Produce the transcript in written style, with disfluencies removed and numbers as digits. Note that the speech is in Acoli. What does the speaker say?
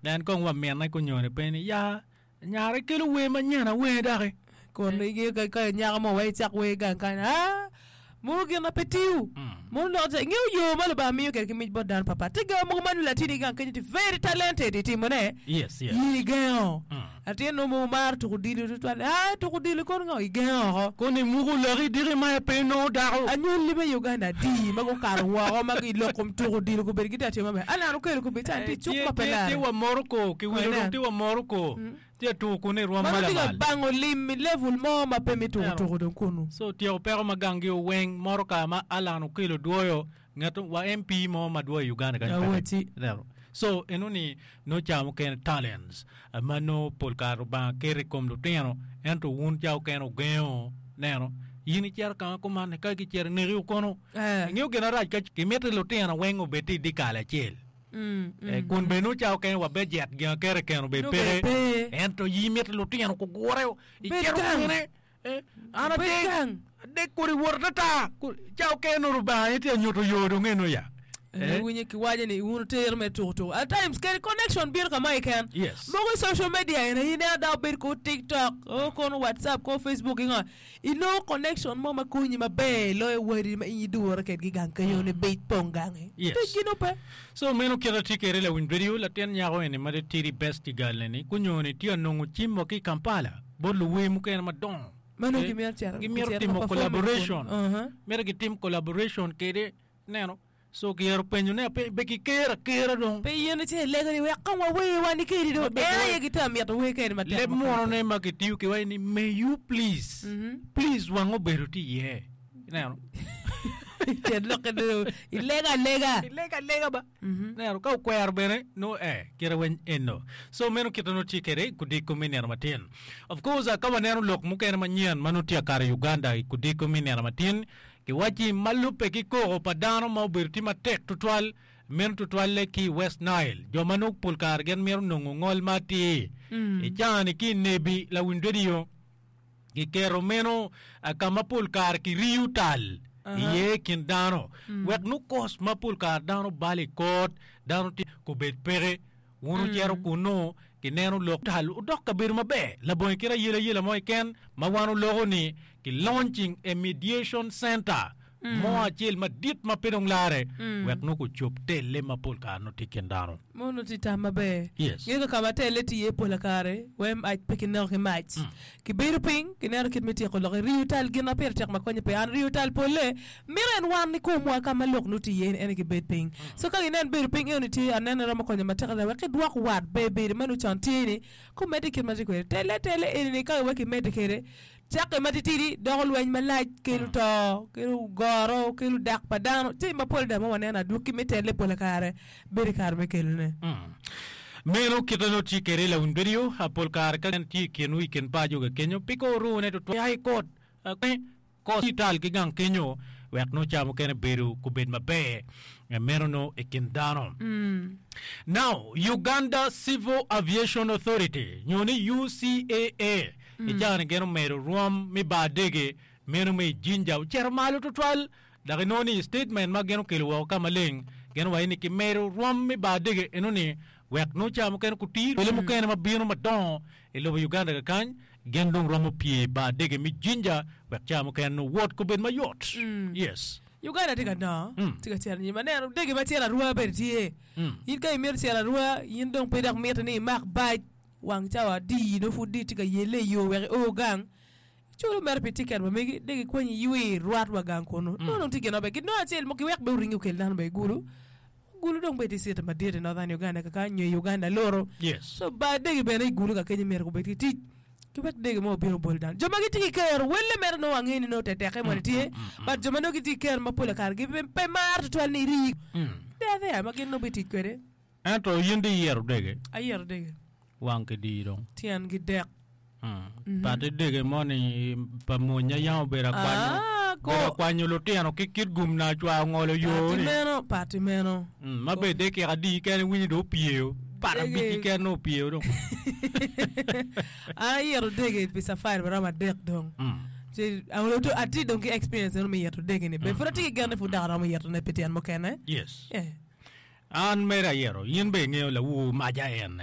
Nen kong wa minne kunyone pe ni, Ya, nyara ikelo wer manyen awer doki. Kun ingeyo ka ka nyako mo wek icak wer gang kany, aa, mono gin ma pe tiyo. Mono lok te, ingeyo yo ma Lubanga miyo kwede ki mic bot dano papat. Tye ga mogo ma nongo latini gang kenyo tye very talented i timone, Yes, yes. in igengo. Latin nongo mogo maro tuko odilo tutwal, aa, tuko odilo kono ngo, igengo oko. Kono imuko laki diki ma pe inongo dako. Anywalli me Uganda adi ma gukato woko ma i lok kom tuko odilo gubedo gitye ka timo maber? Alan Okello kobedo calo tye i cuk Tye ma pe tye lare. tye wa Morocco, kiwilo Kono dong inen. tye wa Morocco. Tye ka tuko kunu i rwom ma Mano tye ka lamal. bango lim i level mo ma pe mi tuko tuko dong kunu. So tyeko peko ma ganggi weng motoka ma Allan Okello dwoyo ngat wa MP mo ma dwoyo i Uganda kany peke. Awacci. Ineno? So eno ni nongo ca mukene talents ma nongo pol kare Lubanga keto i kom lutino ento wun ca okene wugengo neno in icito ka ma kuman ka gicito ineki kono. Eh. Ingeyo gin marac ka kimiti lutino weng obed tye i dyekal acel. Mm, Kun bene nongo ca okene wa bejet gin aketa keken obed Nongo bene peke pe. ento in imito lutino gugure Bed icito gang. kwene Eh, an Bed adek gang. adek kodi wot atata ca okene nongo Lubanga aye tye ka nyuto yo dong eno ya Eh, iwinyo kiwaco ni wun wutero me tuko tuko. At times kadi connection bino ka ma keken. Yes. Mogo i social media eni aye ineno dano bedo ko TikTok, o kono WhatsApp, ko Facebook ki ngo. Inongo connection mo ma konyi maber loyo wadi ma in idure kedgi gang kenyo ni bic pong gangi. Yes. Ticgi nongo pe. So meno kit atye kwede lawiny radio latin nyako eni ma titidi bestie girl eni gunyoni tye ka nongo cim wa ki i Kampala bot luwer mukene madongo. Ma nongo gimito cito Gimito gicito ka timo performing collaboration. kun. Uh-huh. Mito gitim collaboration kwede ineno. So kiyero penyo ne ape be kikero akera dong. Pe in ice ilego ni wek kong wawer wan kedi dong. En aye gitye ka mito wer kedi matek. Leb muno ne ma kitiyo ki waci ni may you please. Please wang obedo tye iye. Ineno? Tyen lokke dong ilego alega. Ilego alega ba. Ineno ka okwero bene nongo eh kite weny eno. So meno kite nongo tye kede i kudiko me nino matin. Of course ka waneno lok mukene manyen ma nongo tye ka kato i Uganda i kudiko me nino matin Kiwacci ma lubbe ki koko pa dano ma obedo tye matek tutwal, meno tutwalle ki i West Nile, jo ma nongo pol kare gin mito nongo ngol ma atir. I caa-ni ki i Nebi lawiny redio, kiketo meno ka ma pol kare kiriyo tal iye i kin dano wek nongo kos ma pol kare dano balo i kot, dano tye kubed peke. Wun wucito kunnu, kineno lok tal odok kabedo maber labongo kit ayelayela mo keken ma wan oloko ni ki launching a mediation center mo acel madit ma pe dong lare wek nongo gucob telle ma pol kare nongo tye i kin dano. Mono tye tam maber. Yes. Ngeyo ka ma telle tye iye pola kare, wee mac pe kineko ki mac. Kibedo piny, kineno kit me tyeko lok. Iriyo tal gin ma pire tek ma konye pe. An riyo tal polle mito en wan i komwa ka ma lok nongo tye iye ni en aye kibed piny. So ka ginen bedo piny eno ni tye anene romo konyo matek adada wek kidwok wat ber bedo ma nongo con tye ni kumedde kit ma tye kwede. Telle telle eni ni ka wek kimedde kwede cakke ma titidi doko lweny malac kelo to, kelo goro, kelo dak pa dano, jami mapol adada ma waneno adwogi me telle pola kare bedo i kare me kelone. Meno kite nongo tye kwede lawiny radio pol kare ka en tye i kinwu i kin paco ka kenyo pe ka orune tutwal ya i kot kos tal ki gang kenyo wek nongo ca mukene bedo kubed maber meno nongo i kin dano. Now Uganda Civil Aviation Authority nyo ni UCAA i caa-ni gin omedo rwom me bar dege meno me i Jinja ocito malo tutwal Dok inongo ni i statement ma gin okelo woko ka maleng, gin owaco ni kimedo rwom me bar dege eno ni wek nongo ca mukene kutir wele mukene ma bino madongo i lobo Uganda kakany gin dong romo pye i bar dege me Jinja wek ca mukene nongo wot kubed mayot. Yes. Uganda tye ka dongo, tye ka cito anyim. Aneno dege ma cito arwa bene tye. In ka imito cito arwa, in dong pe dok mitte ni imak bac wang cawa adi nongo pud itye ka yelle i yo wek io gang. Iculo mere pi tiket ma megi, dok ikwanyo iywe rwat wa gang kunu. Nongo dong tye gin maber. Ginongo acel mo giwek bene oringi okel dano bene i Gulu. Gulu dong bene tye city madit i Northern Uganda kakany nyo i Uganda luru. Yes. So bar dege bene i Gulu kakenyo myero gubed ki tic. Giwek dege mo obin obol dano. Jo ma gitye ki kero, welle mere nongo angeyo ni nongo tetekke moni tye, but jo ma nongo gitye ki kero ma pola kare gi pe maro tutwal ni irii. They are there ma gin nongo bitic kwede. Ento in dong iyero dege? Ayero dege. Wang ki dii dong. Tyen ki dek. Pati dege moni pa mony yam obedo akwanyo, Ah, ko. obedo akwanyo lutino ki kit gum na acwa ongolo yo Pati ni. meno, pati meno. Mm, ma bed dekika adi kene winyo dong opyeyo. Pat Dege. abic keken nongo opyeyo dong. An ayito dege pi safari maromo adek dong. Mm. Ci awoto atye dong ki experience meno me yito dege ni. Be pud atye ki gen ni pud dok aromo yitone pi tyen mukene. Yes. Yeah. An mere ayito, in bene ingeyo lawu maca en.